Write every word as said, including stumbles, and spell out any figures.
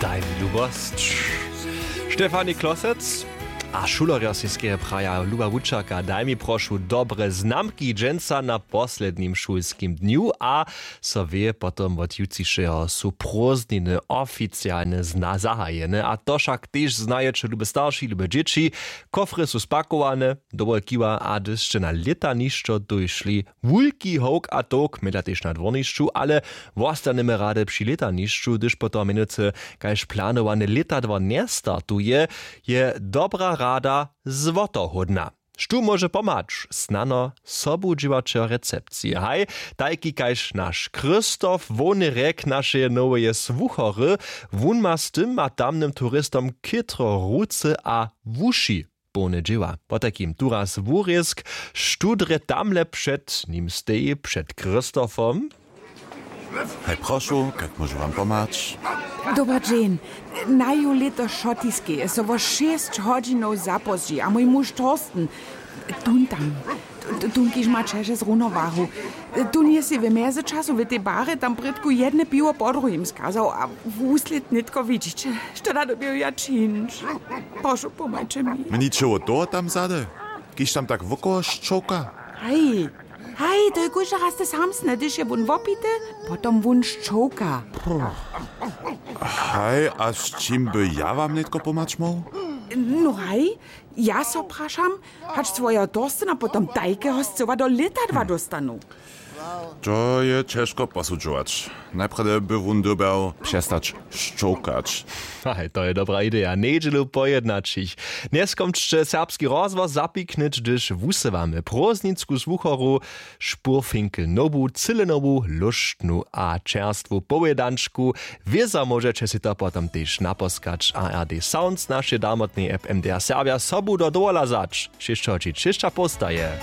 Daj mi lubosć. Štefani Klosec a šulerjo sej skeje praja: Luba wučerka, daj mi prošu dobre znamki dźensa na poslednim šulskim dnju. A so wě, potom wot jutřišeho su prózdniny oficialne zna zahajene, a to wšak tež znajeće, lube starši, lube dźěći. Kofry su spakowane, dołho kiwa, a hdyž sće na lětanišćo dójšli, wulki howk a towk, mjeda tež na dwornišću, ale wostanjemy rady při lětanišću, hdyž potom mjenujcy kaž planowany lětadło njestartuje, je dobra rada złotohódna. Štó móže pomhać? Snano sobudźěłaćer recepcije. Haj, tajki kaž naš Christoph, hłowny rjek našeje noweje słuchory. Wón ma z tym a tamnym turistom chětro ruce a wuši połne dźěła. Potajkim turaz wurězk: Štó drje tamle před nim steji, před Christophom? Haj, prošu, kak móžu wam pomhać? Dober dźeń. Naju lěto šotiskeje so wo šěsć hodźinow zapózdźi a mój muž Thorsten, tón tam, t- tón, kiž ma ćeže z runowahu, tón je sej w mjezyčasu w tej barje tam prědku jedne piwo po druhim skazał a wuslěd nětko widźić. Što da doběju ja čińć? Prošu, pomhajće mi. Mničeło toho tam zady, kiž tam tak wokoło šćołka? Haj, haj, to je kóždy raz te samsne, hdyž je wón wopity, potom wón šćołka. Haj, a z čim by ja wam nětko pomhać móhł? No haj, ja so prašam, hač swojeho Thorstena potom tajkeho scyła do lětadła dóstanu. To je ćežko posudźować. Najprjedy by wón dyrbjał přestać šćołkać. Haj, to je dobra ideja. Njedźelu po jednaćich. Njeskomčće Serbski rozhłos zapiknyć, hdyž wusywamy prózdninsku słuchoru, špurfinkel nobu, cyle nobu, lóštnu a čerstwu powědančku. Wězo móžeće sej to potom tež naposkać. A R D Sounds, našej darmotnej app M D R Serbja, sobu do dowola wzać. Šěsćoho ći třěšća powstaje.